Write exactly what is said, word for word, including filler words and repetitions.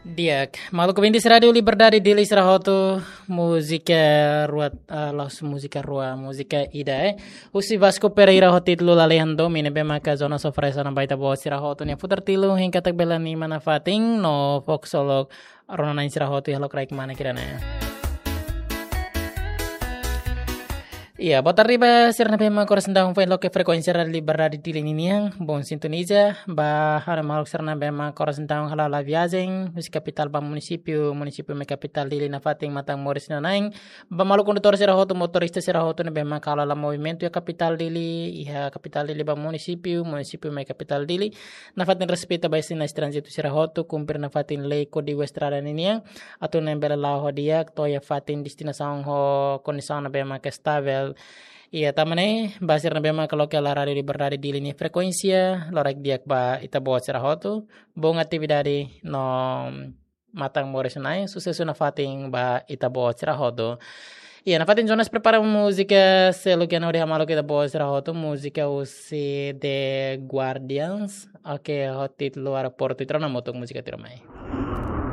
Di'ak, maluk ouvintes Rádiu Liberdade Dili sira hotu, múzika rua, ah, la'ós múzika rua, múzika ida, eh. Husi Vasco Pereira ho títulu Lalehan Domin ne'ebé maka Jonas oferese ona ba ita-boot sira hotu nia futar tilu hein katak bele anima nafatin no fokus ho lokraik rona-na'in sira hotu iha lokraik manek ida-ne'e. Iya, boa tarde ba sira ne'ebé maka oras ne'e daudaun foin loke frekuénsia Rádiu Liberdade Dili ninian, bom sintoniza, ba ha'u-nia maluk sira ne'ebé maka oras ne'e daudaun hala'o la viajen, husi kapitál ba munisípiu, munisípiu mai kapitál Dili nafatin matan moris nia na'in, ba maluk kondutór sira hotu, motorista sira hotu ne'ebé maka hala'o la movimentu iha kapitál Dili, iha kapitál Dili ba munisípiu, munisípiu mai kapitál Dili, nafatin respeita ba sinais tránzitu sira hotu, kumpre nafatin lei kódigu estrada ninian, atu nune'e bele la'o ho di'ak to'o iha fatin destinasaun ho kondisaun ne'ebé maka estavel. Iya, tanba ne'e, ba sira ne'ebé maka loke hela Rádiu Liberdade Dili nia frekuénsia, lokraik di'ak ba ita-boot sira hotu, bom atividade no matan moris nia na'in, susesu nafatin ba ita-boot sira hotu. Iya, nafatin Jonas prepara múzika seluk iha hodi hamaluk ita-boot sira hotu, múzika husi The Guardians, oke, ho títulu Aeroportu, ita rona hamutuk múzika tuirmai.